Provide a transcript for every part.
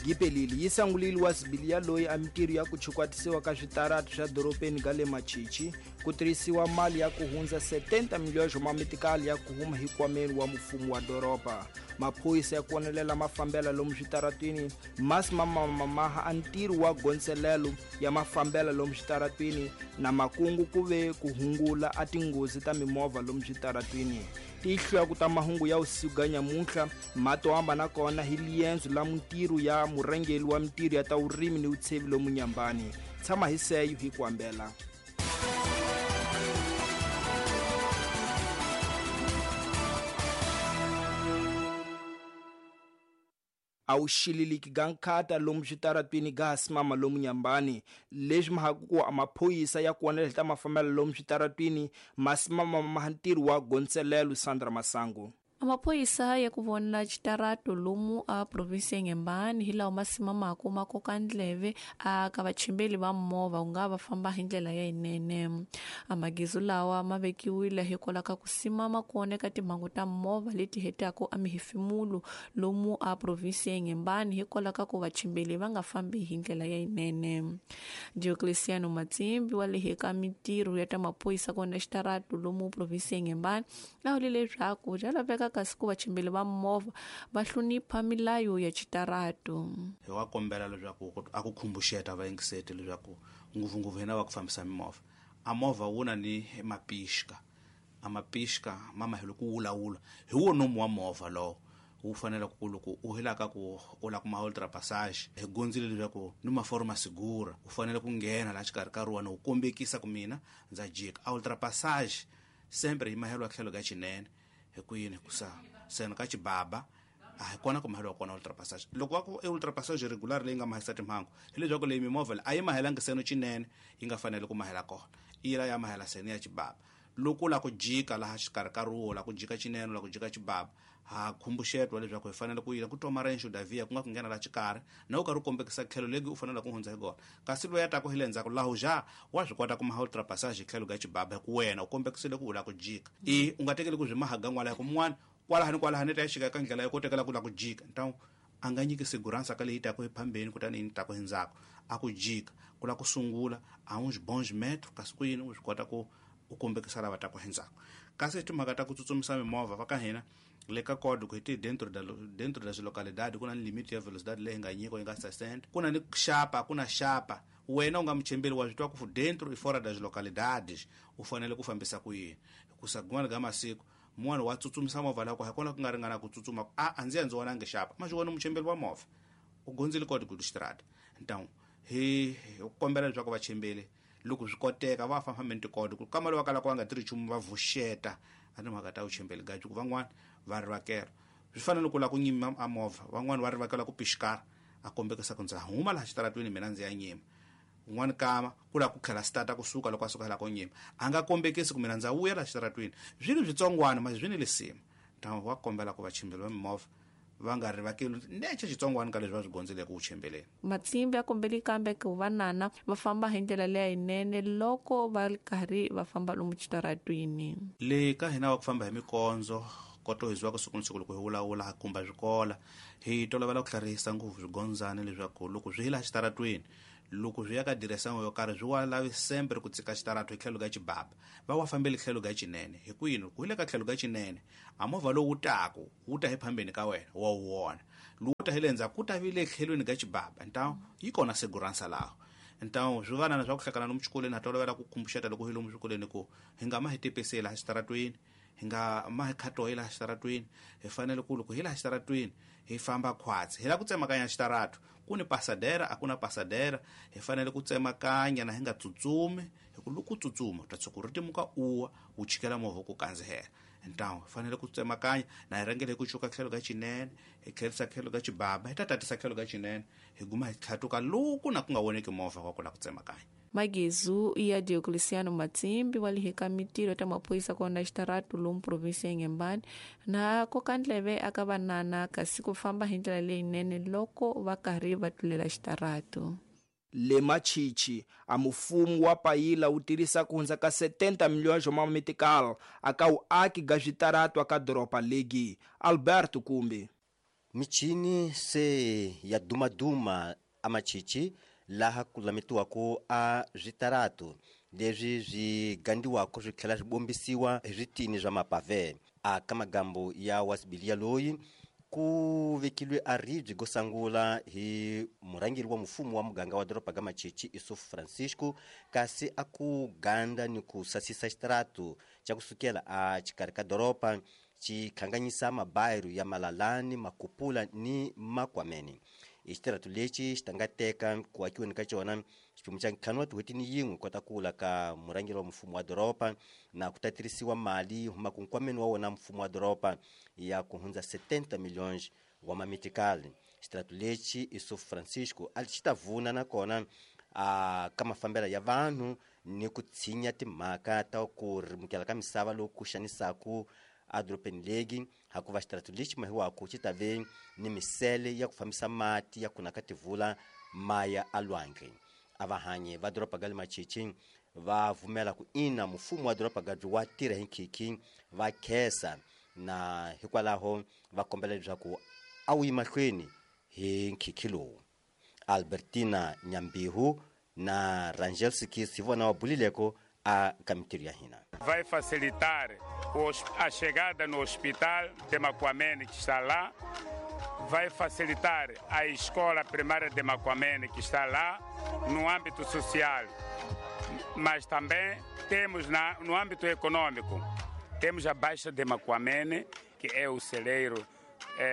Yi pelile yi sangulile wa sibili ya loyi a mintirho ya ku chukwatisiwa ka switaratu swa doropeni ga le Machichi ku tirhisiwa mali ya ku hundza 70 milhões ma mitikali ya ku huma hikwameni wa mfumo wa doroba. Maphorisa ya ku vonelela mafambela lomu switaratwini masi mamamaha a ntirho wa gondzelelo ya mafambela lomu switaratwini na makungu ku ve ku hungula a tinghozi ta mimovha lomu switaratwini. Tihlo ta mahungu ya usiku ga nyamuntlha mato hambana kona hi liendzo la mintirho ya murhangeri wa mintirho ya ta vurimi ni vutshevi lomu Nyambani. Tshama hi seyo hi ku hambela. A wu xililiki ga nkhata lomu switaratwini ga hasimama lomu Nyambani. Leswi mahaku ku a maphorisa ya ku vonela ta mafambelo lomu switaratwini masimama ma ntirho wa gondzelelo. Sandra Masangu. Amaphoyisa ya ku vona xitarato lomu a provinsi ya Inhambane hi lawa ma simamaka ma koka ndleve a ka vachimbeli va movha ku nga va famba hi ndlela ya yinene. Amagezu lawa ma vekiwile hikwalaho ka ku simama kona ka timhangu ta movha leti hetaka a mihefemulo lomu a provinsi ya Inhambane hikwalaho ka ku vachimbeli va nga fambi hi ndlela ya yinene. Diocleciano Matsimbi wa le ka mintirho ya ta maphorisa kona xitarato lomu provinsi ya Inhambane a vule leswaku bya laveka kasi ku vachimbeli va movha va hlonipha milayo ya xitarato. Hi wa kombela leswaku a ku khumbuxeta vayingiseti leswaku ngopfungopfu hina va ku fambisa mimovha a movha wu na ni mapixka a mapixka ma mahelo ku wulawula hi wo nomu wa movha lowo wu fanele ku loko u helaka ku u la kuma ultra passage hi gondzile leswaku ni maforma segura u fanele ku nghena laha xikarhi ka ruwa ni u kombekisa ku mina ndza jika a ultra passage sempre hi mahelo tlhelo ka xinene hi ku yini ku sa sena ka xibaba a hi kona ku mahelo kona ultra passage loko va ku e ultra passage regular leyi nga mahisa timhangu hi leswaku leyi mimovha a yi mahelangi seno xinene yi nga fanele ku mahela kona yi la ya mahela seno ya xibaba loko la ku jika laha xikarhi ka ruwo la ku jika xinene la ku jika xibaba ha khumbuxetwa leswaku hi fanele ku yila ku toma renxo davia ku nga ku nghena la xikarhi na u karhi u kombekisa tlhelo legi u fanele ku hundza hi kona kasi loyi a taku hi le ndzhaku laha ja wa swi kota ku maha ultra passage tlhelo ga xibaba hi ku wena u kombekisile ku u la ku jika i u nga tekeli ku byi mahaga n'wala hi ku mun'wana kwalahani kwalahani ta ya xika eka ndlela yo kotekela ku la ku jika ntawu a nga nyiki segurança ka leyi taku hi phambeni kutani yi taku hi ndzhaku a ku jika ku la ku sungula a uns bons metros kasi ku yini u swi kota ku u kombekisa lava taku hi ndzhaku kasi timhaka ta ku tsutsumisa mimovha va ka hina le ka code ku hi ti dentro da dentro das localidade ku na ni limite ya velocidade leyi nga nyiko yi nga 60 ku na ni xapa ku na xapa wena u nga muchembeli wa swi twa ku dentro e fora das localidades u fanele ku fambisa ku yini hikusa kun'wana ka masiku mun'wana wa tsutsumisa movha lako hi kona ku nga ringana ku tsutsuma a a ndzi ya ndzi vonangi xapa ma swi vona muchembeli wa movha u gondzile código do estrada. Então hi kombela leswaku vachembeli loko swi koteka va famba tikodi ku kama lava kalaka va nga tirhi nchumu va vuxeta a timhaka ta vuchembeli gaji ku van'wana va rivakela swi fanele ku la ku nyima a movha van'wana va rivakela ku pixikara a kombekisa ku ndza huma laha xitaratweni mina ndzi ya nyima un'wana kama ku la ku tlhela stata kusuka loko a suka la ko nyima a nga kombekisi ku mina ndza vuya laha xitaratweni swilo switsongwana ma swi ni lisima ntamu wa kombela ku vachimbeli va mimovha va nga rivakeli nece xitsongwana ka leswi va swi gondzeleke ku chembeleni. Matsimbi ya kombeli kambe ku vanana va famba hi ndlela leya yinene loko va ri karhi va famba lomu xitaratwini. Le ka hina wa ku famba hi mikondzo koto hi ziwaka siku ni siku loko hi vulavula ha kumba swikola hi tolovela ku hlarihisa ngopfu swigondzani leswaku loko swi hi laha xitaratweni loko swi ya ka diresango yo karhi swi wa lavi sempre ku tsika xitarato hi tlhelo ka xibaba va wa fambeli tlhelo ka xinene hi ku yini ku hi le ka tlhelo ka xinene a movha lowu taku wu ta hi phambeni ka wena wa wu vona lowu ta hi le ndzhaku ku ta vi le tlhelweni ka xibaba ntawu yi kona seguransa laho ntawu swi vanana swa ku hlakana lomu xikolweni ha tolovela ku khumbuxeta loko hi lomu swikolweni ku hi nga ma hi tepesi laha xitaratweni hi nga ma hi khatoyi laha xitaratweni hi fanele ku loko hi laha xitaratweni hi famba khwatsi hi la ku tsemakanya xitarato ku ni pasadera a ku na pasadera hi fanele ku tsemakanya na hi nga tsutsumi hi ku loko u tsutsuma u ta tshuka u ri timuka uwa wu chikela movha ku kandzihela ntawu hi fanele ku tsemakanya na hi rhangele hi ku cuka tlhelo ka xinene hi tlherisa tlhelo ka xibaba hi ta tatisa tlhelo ka xinene hi guma hi tlhatuka loku na ku nga voneki movha wa ku la ku tsemakanya. Magezu ya Diocleciano Matsimbi wa le ka mintirho ta maphorisa kona xitarato lomu provinsi ya Inhambane na koka ndleve aka vanana kasi ku famba hi ndlela leyinene loko va karhi va tlulela xitarato. Le Machichi a mufumo wa payila wu tirhisa ku hundza ka 70 milhões ma metical aka wuaki ga switarato aka doroba legi. Alberto Kumbi. Michini se ya dumaduma amachichi laha ku lametiwaka a switaratu leswi swi gandiwaka swi tlhela swi bombisiwa hi switini swa mapave. A ka magambo ya wasibilia loyi ku vekilwe a ribye go sangula hi murhangeri wa mfumo wa muganga wa doroba ga Machichi Isuf Francisco, kasi a ku ganda ni ku sasisa xitaratu xa kusukela a xikarhi ka doroba xi hlanganyisa mabayiro ya Malalani, Makupula ni Makwameni. I xitaratu lexi xi ta nga teka ku akiweni ka xona xiphemu xa ntlhanu wa tin'hweti ni yin'we kota ku wula ka murhangeri wa mfumo wa doroba, na ku ta tirhisiwa mali yi humaka nkwameni wa wona mfumo wa doroba ya ku hundza 70 milhões wa mamitikali. Xitaratu lexi Isuf Francisco a xi ta vuna nakona a ka mafambelo ya vanhu ni ku tshinya timhaka ta ku rimukela ka misava loku ku xanisaku edorobeni legi, hakuva xitaratu lexi mahiwaku xi ta ve ni misele ya ku fambisa mati ya kuna ka tivula maya alwandle. A vahanyi va doroba ga le Machichi va vumela ku ina mfumo wa doroba ga wa tirha hi nkhikhi va khesa, na hikwalaho va kombela leswaku a wu yi mahlweni hi nkhikhi lowu. Albertina Nyambihu na Rangel Sikis hi vona va bulileko a ka mintirho ya hina. Vai facilitar a chegada no hospital de Macuamene, que está lá, vai facilitar a escola primária de Macuamene, que está lá, no âmbito social. Mas também temos no âmbito econômico, temos a Baixa de Macuamene, que é o celeiro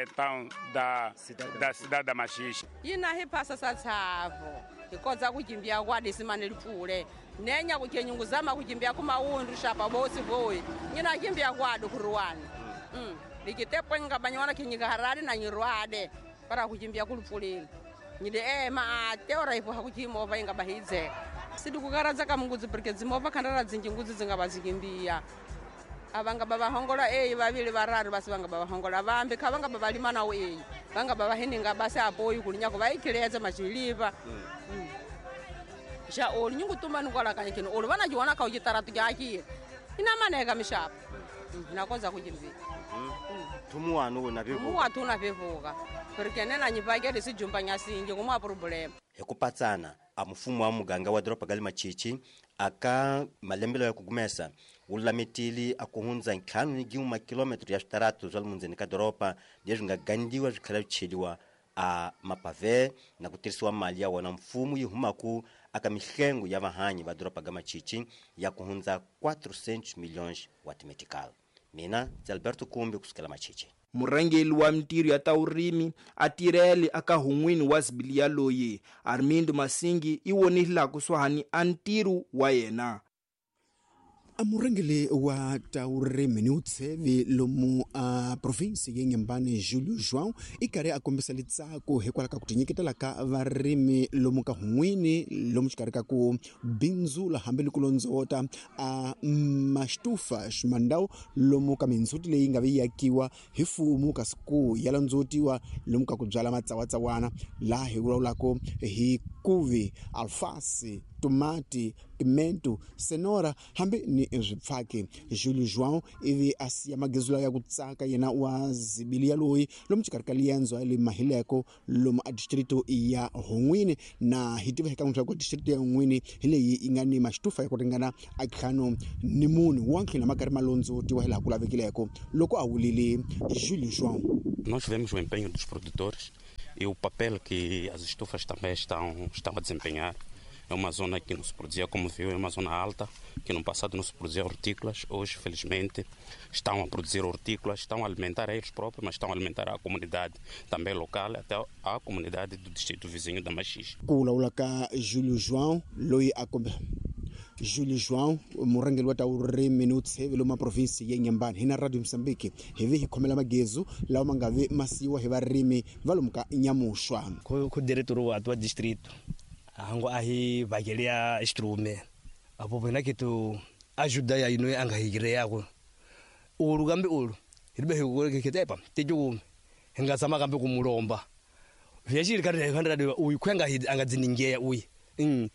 então, da cidade da Machixe. E na repassa satsavo, e koza kujimbia kwa desimane lipule. Nenya kuchenyunguzama kujimbia kumaundu shapa bosi boy. Nyina jimbia kwa dukuruani. Likitepo ngabanywana kinyika harari na nyirwade para kujimbia kulupulini. Nyide ma teora ipo hakujimova ingabahize. Sidikukaradza kamunguzi porque dzimova khandara dzinjinguzi dzingabazikimbia. Abanga baba hongola vavili vararu basi vanga baba hongola vambi khavanga baba lima nawo vanga baba hininga basi apoyi kulinyako vaikileza machiliva. Ja olu nyungu tuma nukwala kanyikino olu vana jiwana ka ujitaratu jaki ina maneka mishapa nakoza kujimbia. Tumuwanu na vivuka muwatu na vivuka porque nena nyipakele sijumba nyasinje kumwa problem. Hikupatsana a mfumo wa muganga wa doroba ga le Machichi aka malembelo ya kugumesa wu lametile a ku hundza 5 makilometro ya switaratu swa le mundzeni ka doroba leswi nga gandiwa swi tlhela swi cheliwa a mapave na ku tirhisiwa mali ya wona mfumo yi humaku aka mihlengo ya vahanyi va doroba ga Machichi ya ku hundza 400 milhões wa timetical. Mina ndzi Alberto Kumbi kusukela Machichi. Murhangeri wa mintirho ya ta vurimi a tirhele aka hun'wini wa Zibilia loyi Armindo Masingi i vonile kusuhani a ntirho wa yena. A murhangeri wa ta vurimi ni vutshevi lomu a provinsi ya Inhambane Julio João i karhi a kombisa litsako hikwalaho ka ku tinyiketela ka varimi lomu ka hun'wini lomu xikarhi ka ku bindzula hambi ni ku londzota a maxitufa ximandau lomu ka mindzhuti leyi nga vi yakiwa hi mfumo kasi ku ya londzootiwa lomu ka ku byala matsawatsawana laha hi vulavulaka hi kuvi, alfasi, tomati, pimento, senora hambi ni swipfaki. Julio João ivi a siya magezula ya ku tsaka yena wa Zibilia loyi lomu xikarhi ka liendzo ya le Mahileko lomu a distrito ya Hon'wini, na hi tiva eka leswaku distrito ya Hon'wini hi leyi yi nga ni maxitufa ya ku ringana a 54 wa ntlhela ma karhi ma londzootiwa hi laha ku lavekileko loko a wulile Julio João. Nós vemos o empenho dos produtores e o papel que as estufas também estão a desempenhar. É uma zona que não se produzia, como viu, é uma zona alta, que no passado não se produzia hortícolas. Hoje, felizmente, estão a produzir hortícolas, estão a alimentar a eles próprios, mas estão a alimentar a comunidade também local, até a comunidade do distrito vizinho da Machixe. Ku vulavula ka Julio João loyi a Julio João murhangeri wa ta vurimi ni vutshevi lomu provinsi ya Inhambane hi na Radio Mozambique hi vi hi khomela magezu lawa ma nga vi ma siyiwa hi varimi va lomu ka Nyamuxwa. Ku diretor wa tua distrito hango ahi vakelia instrume apo vena kitu ajuda ya ino anga higire yako ulu kambe ulu ilibe higure kitepa teju hingasama kambe kumulomba vyashiri kare kandra uyu kwenga anga dziningeya uyu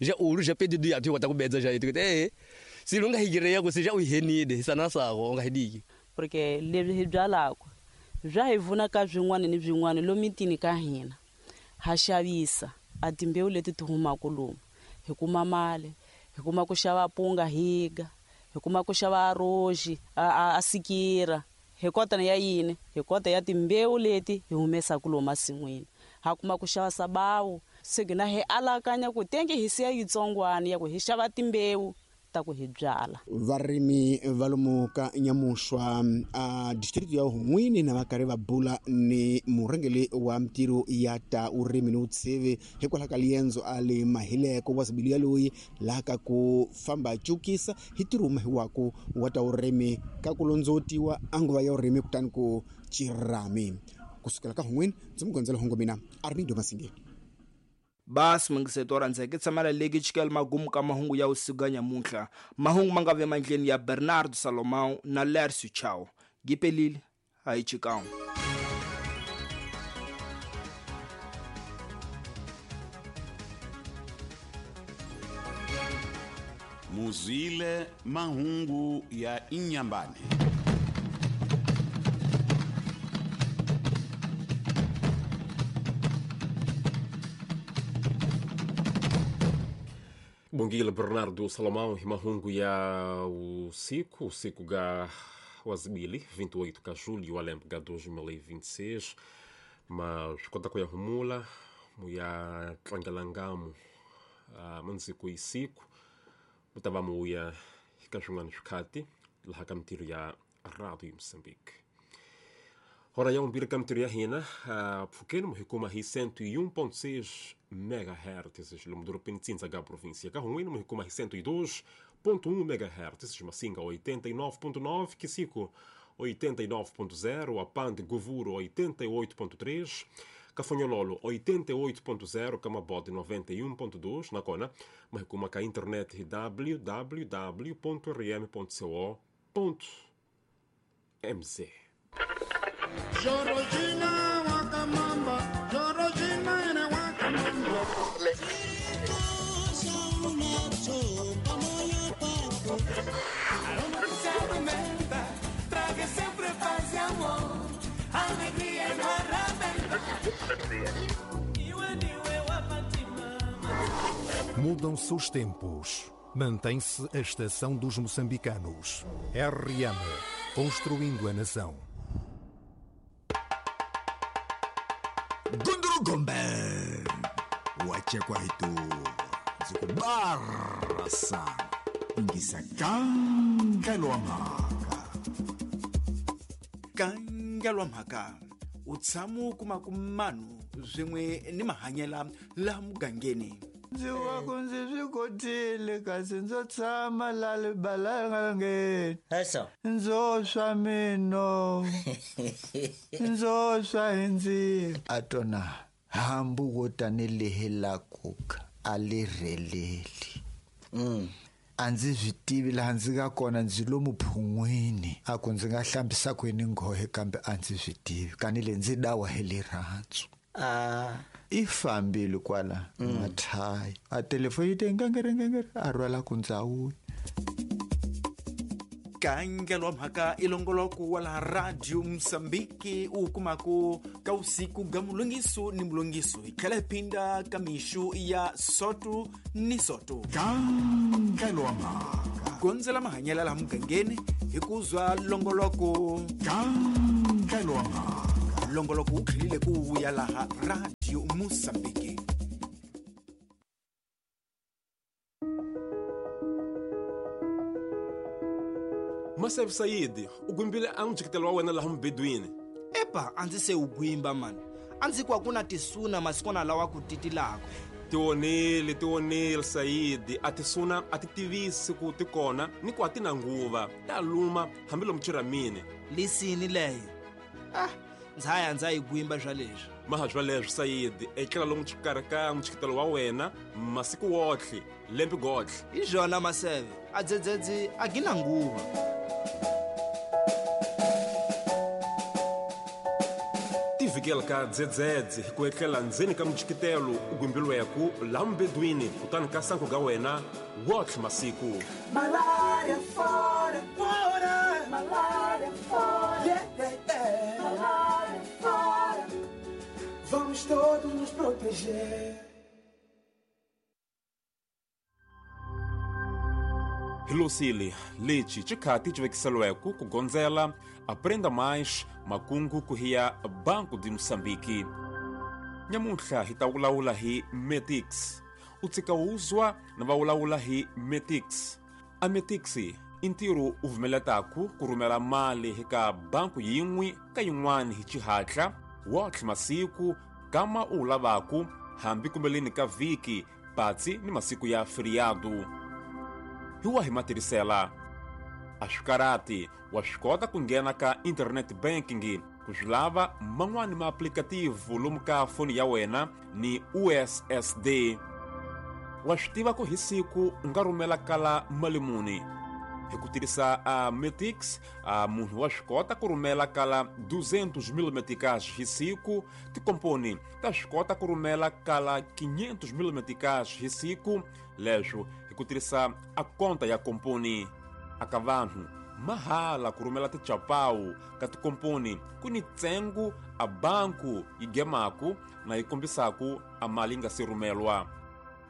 ja ulu ja pedido ya tu watakubedza ja itu silunga higire yako sija uhenide sana sako anga hidiki porque leswi hi byalaka Bya hi vuna ka byin'wana ni byin'wana lomitini ka hina. Ha xavisa a timbewu leti ti humaka lomu. Hi kuma mali, hi kuma ku xava punga higa, hi kuma ku xava roji, a sikira. Hi kota ya yini? Hi kota ya timbewu leti hi humesaka lomu masin'wini. Ha kuma ku xava sabawu, se gina hi alakanya ku tenge hi siya yitsongwana ya ku hi xava timbewu ta ku hi byala. Varimi va lomu ka Nyamuxwa a district ya Hun'wini na va karhi va bula ni murhangeri wa mintirho ya ta vurimi ni vutshivi hikwalaho ka liendzo a le mahileko wa zibilu yaloyi laha ka ku famba cukisa hi ntirho mahiwaku wa ta vurimi ka ku londzotiwa a nguva ya vurimi kutani ku cirami. Kusukela ka Hun'wini ndzi mugondzela hungu mina Armindo Masinge. Basi mungiseto wa rhandzeke tshamela leki chikela magumu ka mahungu ya usiku ya nyamuntlha. Mahungu ma nga ve mandleni ya Bernardo Salomão na Lércio Chao. Gipelile hayi chikao. Muzwile mahungu ya Inhambane. Bongila Bernardo Salomão e mahungu ya usiku, usiku ga wazibili 28 ka julho alembe ga 2026, mas kota ko ya humula muya tlangelangamu manziku isiku mutava muya ka swin'wana swikhati laha ka mintirho ya Radio Moçambique. Hora ya 1 ka mintirho ya hina pfukeni mu hi kuma hi 101.6 MHz lomu dorobeni Tsinza ga província ka Hun'wini mu hi kuma hi 102.1 MHz Massinga 89.9 Quissico 89.0 Apande Govuro 88.3 Cafanhololo 88.0 Camabote 91.2 na Kona mas kuma ka internet www.rm.co.mz. Jorojina wakamamba, Jorojina ene wakamamba. Aroma que se alimenta, traga sempre paz e amor, alegria no arrebenta. Mudam-se os tempos, mantém-se a estação dos moçambicanos. RM, construindo a nação. Gundurugombe wachekwa hitu zikubarasa ingisa kangelwa mhaka kangelwa mhaka utshamu kuma kumanu swin'we ni mahanyela laha mugangeni. Ndzi wa ku ndzi swi kotile kasi ndzo tshama la libalangeni ndzo swa mino ndzo swa hi ndzilo a tona hambi wo tanihi la kuka a li rheleli. A ndzi swi tivi laha ndzi nga kona ndzi lomu phun'wini a ku ndzi nga hlambisa kwini nghohe kambe a ndzi swi tivi kanile ndzi dawa hi rirhandzu. I fambile kwala mathayi a telefoni yi te ngengere a rhwala ku ndzawuya. Kangelwa mhaka i longoloko wa laha Radio Mozambique u kumaka ka usiku ga mulongiso ni mulongiso hi tlhela hi phinda ka mixu ya soto ni soto. Kangelwa mhaka gondzela mahanyela laha mugangeni hi ku zwa longoloko. Kangelwa mhaka longoloko wu tlhelile ku vuya laha Radio Mozambique. Maseve Saidi, u gwimbile a n'wi wa wena laha mubedweni. Epa, a ndzi se u gwimba mani. A ndzi ku a ku na tisuna masikwana lawa ku titilaka. Tionile Saidi, a tisuna a ti tivisi ku ti kona ni ku a ti na nguva. Ta luma hambi lomu chiramini. Lisini leyo. Ndza ndza yi gwimba swa leswi. Maha swa leswi Saidi, etlela lomu xikarhi ka mutshikitelo wa wena masiku wotlhe, lembe gotlhe. Hi swona Maseve, a dzedzedzi a gina nguva. Tivikela ka dzedzedze hi ku etlela ndzeni ka mutshikitelo u gwimbilweku laha mubedweni kutani ka sanku ga wena wotlhe masiku. Malaria fora, fora, malaria fora, yeah, yeah, yeah. Malaria. todos nos proteger. Hilosile lexi xikhati xi vekiseliweke ku gondzela Aprenda Mais makungu ku hiya Banco de Moçambique. Nyamuntlha hi ta vulavula hi Metix. U tshika wuzwa na va vulavula hi Metix. A Metix i ntirho u vumeletaku ku rhumela mali eka banku yin'we ka yin'wana hi xihatla wotlhe masiku kama u wu lavaku hambi kumbeleni ka vhiki patsi ni masiku ya feriado. Hi wahi matirhisela? A swi karati wa swi kota ku nghena ka internet banking ku swi lava man'wani maaplikativu lomu ka foni ya wena ni USSD. Wa swi tiva ku hi siku u nga rhumela kala mali muni? Hi ku tirhisa a Metix, a munhu wa swi kota ku rhumela kala 200 000 meticais hi siku. Tikomponi ta swi kota ku rhumela kala 500 000 meticais hi siku, leswo hi ku tirhisa a konta ya komponi. Aka vanhu mahala ku rhumela tichapawu ka tikomponi ku ni ntsengo a banku yi gemaku na yi kombisaku a mali yi nga se rhumelwa.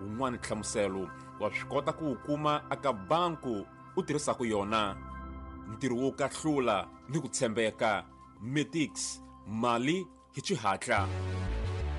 Wun'wani nhlamuselo wa swi kota ku wu kuma aka banku u tirhisaka yona. Ntirho wo kahlula ni ku tshembeka. Metix, mali hi xihatla.